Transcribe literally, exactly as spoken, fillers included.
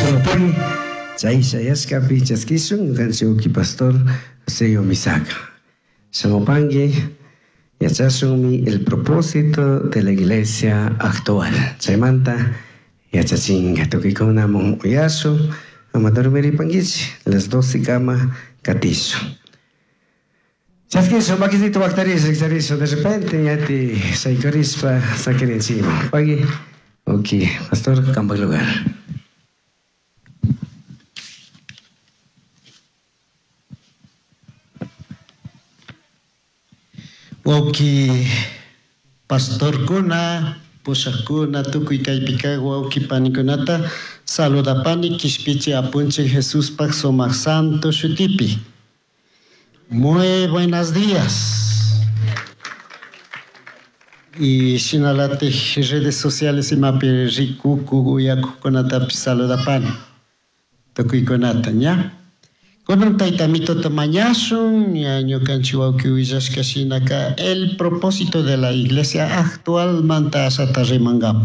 Pagui, chay shayashkapi chaskishun ñukanchik uki pastor José Omisaka. Shamupanki yachashunmi el propósito de la iglesia actual. Chaymanta yachachinka tukuykunamun uyashun ama dormiripankichik las doce kama katishun. Chaskishun makisito waktarish rikcharishun de repente ñati shaykurishpa sakirinchikman. Pagui, ok, pastor, kampak lugar. Wawki pastorkuna, pushakuna, tukuy kaypi wawki panikunata saludapani kishpichi apunchik Jesuspaj sumak santo shutipi. Muy buenos días. Y shinalatik redes sociales imapi rikuku uyakukunatapish saludapani tukuykunata ña. Kunan tayta mitota mañashun ña ñukanchik wawki willashka shinaka el propósito de la iglesia actual manta ashata rimankapa.